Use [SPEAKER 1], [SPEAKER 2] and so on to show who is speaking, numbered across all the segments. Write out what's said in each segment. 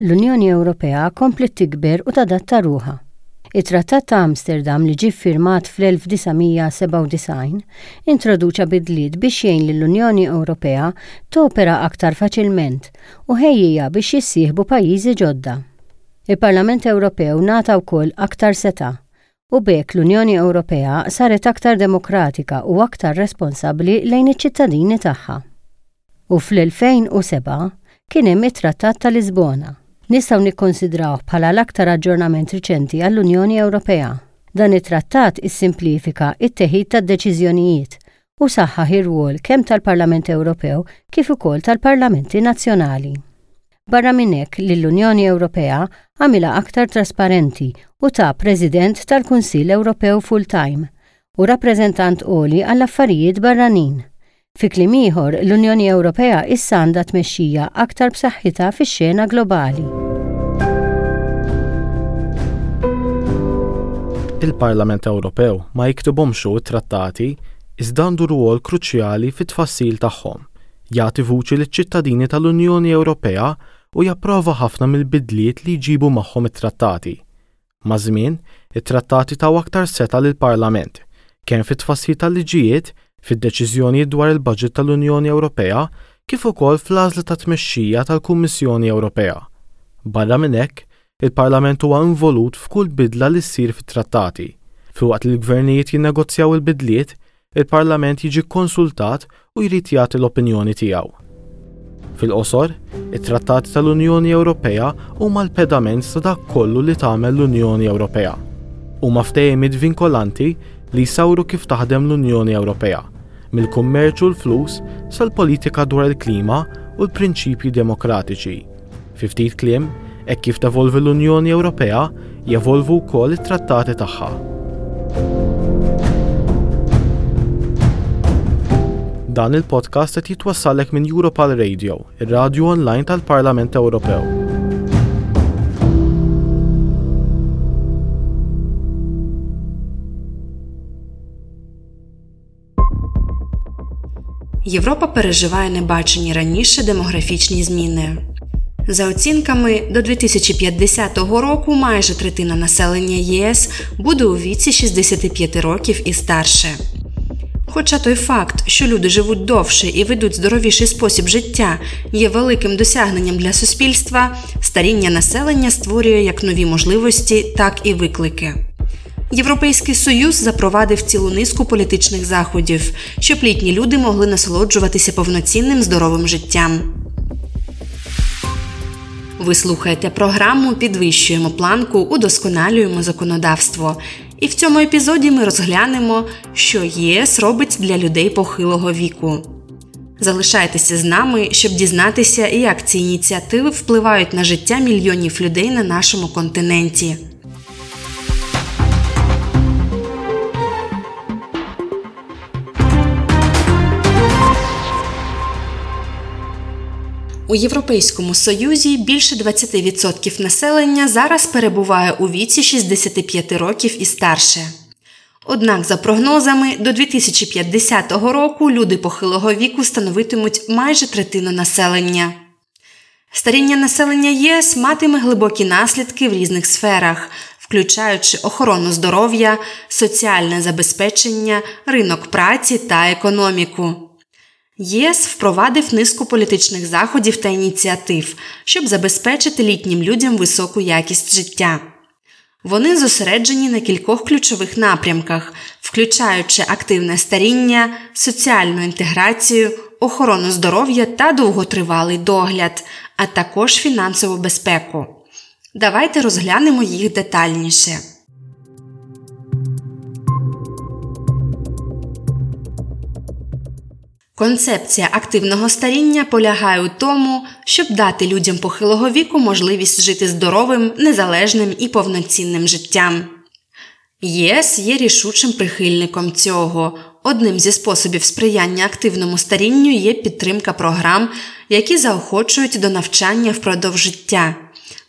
[SPEAKER 1] L-Unjoni Ewropea kompliet tikber u tadatta ruħha. It-Trattat ta' Amsterdam li ġie ffirmat fl-1997 introduċa bidliet biex jgħin lill-Unjoni Ewropea topera aktar faċilment u ħejjiha biex jissieħbu pajjiżi ġodda. Il-Parlament Ewropew ngħata wkoll aktar setgħa u b'hekk l-Unjoni Ewropea saret aktar demokratika u aktar responsabbli lejn iċ-ċittadini tagħha. U fl-2007 kien hemm it-Trattat ta' Lisbona. Nistgħu nikkonsidrawh bħala l-aktar aġġornament riċenti għall-Unjoni Ewropea. Dan it-trattat issimplifika t-teħid tad-deċiżjonijiet u saħħaħ ir-rwol kemm tal-Parlament Ewropew kif ukoll tal-parlamenti nazzjonali. Barra minn hekk lill-Unjoni Ewropea għamilha aktar trasparenti u ta President tal-Kunsill Ewropew full-time u Rappreżentant Għoli għall-Affarijiet Barranin. Fi kliem ieħor, l-Unjoni Ewropea issa għandha tmexxija aktar b'saħħitha fix-xena globali.
[SPEAKER 2] Il-Parlament Ewropew ma jiktibhomx hu t-trattati, iżda għandu rwol kruċjali fit-tfassil tagħhom, jagħti vuċi liċ-ċittadini tal-Unjoni Ewropea u japprova ħafna mill-bidliet li jġibu magħhom it-trattati. Maż-żmien, it-trattati taw aktar setgħa lill-Parlament, kemm fit-tfassil tal-liġijiet, fid-deċiżjonijiet dwar il-baġit tal-Unjoni Ewropea, kif ukoll fl-għażla tat-tmexxija tal-Kummissjoni Ewropea. Barra minn hekk, il-Parlament huwa involut f'kull bidla li ssir fit-trattati. Filwaqt li l-gvernijiet jinnegozjaw il-bidliet, il-Parlament jiġi kkonsultat u jrid jagħti l-opinjoni tiegħu. Fil-qosor, it-Trattati tal-Unjoni Ewropea huma l-pedament ta' dak kollu li tagħmel l-Unjoni Ewropea. Huma ftehimiet vinkolanti li jsawru kif taħdem l-Unjoni Ewropea, mill-kummerċ u l-flus sal-politika dwar il-klima u l-prinċipji demokratiċi. Fi ftit kliem, hekk kif tevolvi l-Unjoni Ewropea, jevolvu wkoll it-trattati tagħha. Dan il-podcast qed jitwassallek minn Europal Radio, ir-radju online tal-Parlament Ewropew.
[SPEAKER 3] Європа переживає небачені раніше демографічні зміни. За оцінками, до 2050 року майже третина населення ЄС буде у віці 65 років і старше. Хоча той факт, що люди живуть довше і ведуть здоровіший спосіб життя, є великим досягненням для суспільства, старіння населення створює як нові можливості, так і виклики. Європейський Союз запровадив цілу низку політичних заходів, щоб літні люди могли насолоджуватися повноцінним здоровим життям. Ви слухаєте програму Підвищуємо планку, удосконалюємо законодавство. І в цьому епізоді ми розглянемо, що ЄС робить для людей похилого віку. Залишайтеся з нами, щоб дізнатися, як ці ініціативи впливають на життя мільйонів людей на нашому континенті. У Європейському Союзі більше 20% населення зараз перебуває у віці 65 років і старше. Однак, за прогнозами, до 2050 року люди похилого віку становитимуть майже третину населення. Старіння населення ЄС матиме глибокі наслідки в різних сферах, включаючи охорону здоров'я, соціальне забезпечення, ринок праці та економіку. ЄС впровадив низку політичних заходів та ініціатив, щоб забезпечити літнім людям високу якість життя. Вони зосереджені на кількох ключових напрямках, включаючи активне старіння, соціальну інтеграцію, охорону здоров'я та довготривалий догляд, а також фінансову безпеку. Давайте розглянемо їх детальніше. Концепція активного старіння полягає у тому, щоб дати людям похилого віку можливість жити здоровим, незалежним і повноцінним життям. ЄС є рішучим прихильником цього. Одним зі способів сприяння активному старінню є підтримка програм, які заохочують до навчання впродовж життя,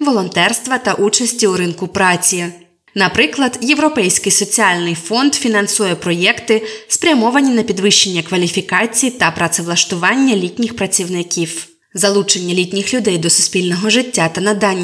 [SPEAKER 3] волонтерства та участі у ринку праці. Наприклад, Європейський соціальний фонд фінансує проєкти, спрямовані на підвищення кваліфікації та працевлаштування літніх працівників. Залучення літніх людей до суспільного життя та надання